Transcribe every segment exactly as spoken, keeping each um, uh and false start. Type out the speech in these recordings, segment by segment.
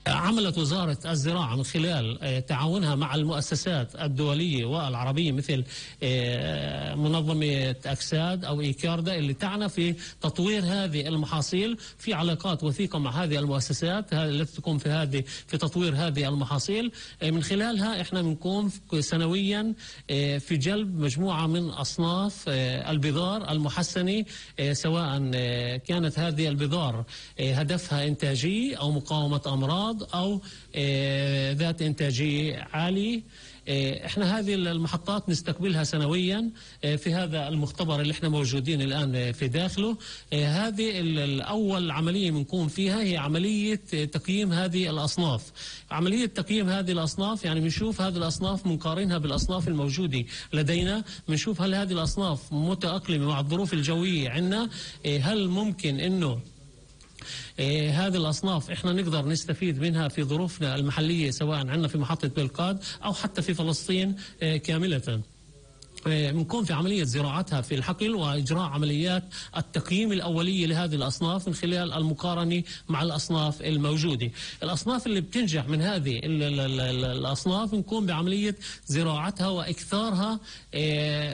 عملت وزارة الزراعة من خلال تعاونها مع المؤسسات الدولية والعربية مثل منظمة أكساد أو إيكاردا اللي تعنى في تطوير هذه المحاصيل، في علاقات وثيقة مع هذه المؤسسات التي تقوم في هذه في تطوير هذه المحاصيل. من خلالها احنا بنقوم سنويا في جلب مجموعة من أصناف البذار المحسنة، سواء كانت هذه البذار هدفها إنتاجي أو مقاومة أمراض أو ذات إنتاجية عالية. احنا هذه المحطات نستقبلها سنويا في هذا المختبر اللي احنا موجودين الآن في داخله. هذه الأول عملية بنقوم فيها هي عملية تقييم هذه الأصناف. عملية تقييم هذه الأصناف يعني بنشوف هذه الأصناف بنقارنها بالأصناف الموجودة لدينا، بنشوف هل هذه الأصناف متأقلمة مع الظروف الجوية عندنا، هل ممكن إنه إيه هذه الأصناف إحنا نقدر نستفيد منها في ظروفنا المحلية سواء عندنا في محطة بلقاد أو حتى في فلسطين إيه كاملة. بنكون في عملية زراعتها في الحقل وإجراء عمليات التقييم الأولية لهذه الأصناف من خلال المقارنة مع الأصناف الموجودة. الأصناف اللي بتنجح من هذه الأصناف بنكون بعملية زراعتها وإكثارها.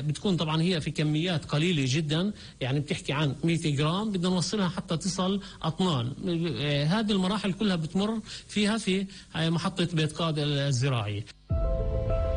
بتكون طبعا هي في كميات قليلة جدا، يعني بتحكي عن مئة جرام بدنا نوصلها حتى تصل أطنان. هذه المراحل كلها بتمر فيها في محطة بلقاد الزراعية.